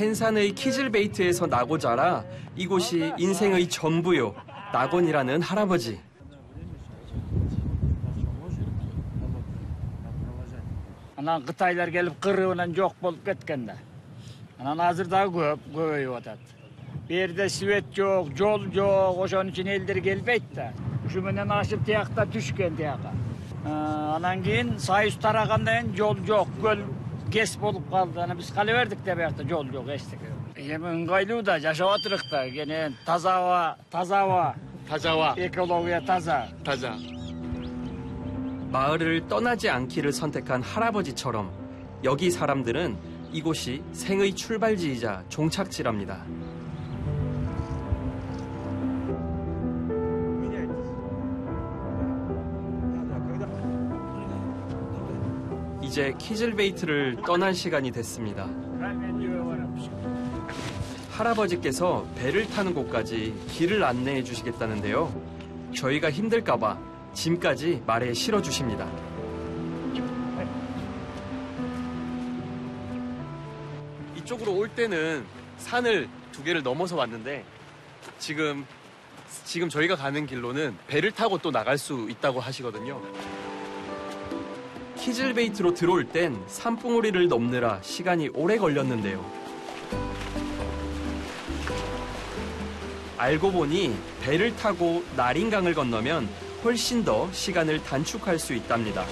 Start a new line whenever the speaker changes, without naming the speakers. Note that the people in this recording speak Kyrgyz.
펜산의 키즐베이트에서 나고 자라 이곳이 인생의 전부요. 낙원이라는 할아버지.
Анан Кытайлар келип кырыбынан жок болуп кеткенде. Анан азыр дагы көбөйүп атат. Берде свет жок, жол жок, ошон үчүн элдер келбейт да. Ушу менен ашып тиякта түшкөн тияка. Анан кийин Союз тарагандан кийин жол жок, көл кес болуп калды. Анан биз кала бердик да биякта жол жок эчтеке. Эми ыңгайлуу да жашап атырык да. Кene таза аба, экология таза.
마을을 떠나지 않기를 선택한 할아버지처럼 여기 사람들은 이곳이 생의 출발지이자 종착지랍니다. 이제 키즐베이트를 떠날 시간이 됐습니다. 할아버지께서 배를 타는 곳까지 길을 안내해 주시겠다는데요. 저희가 힘들까봐 짐까지 말에 실어주십니다. 이쪽으로 올 때는 산을 2개를 넘어서 왔는데 지금 저희가 가는 길로는 배를 타고 또 나갈 수 있다고 하시거든요. 키즐베이트로 들어올 땐 산봉우리를 넘느라 시간이 오래 걸렸는데요. 알고 보니 배를 타고 나린강을 건너면 훨씬 더 시간을 단축할 수 있답니다.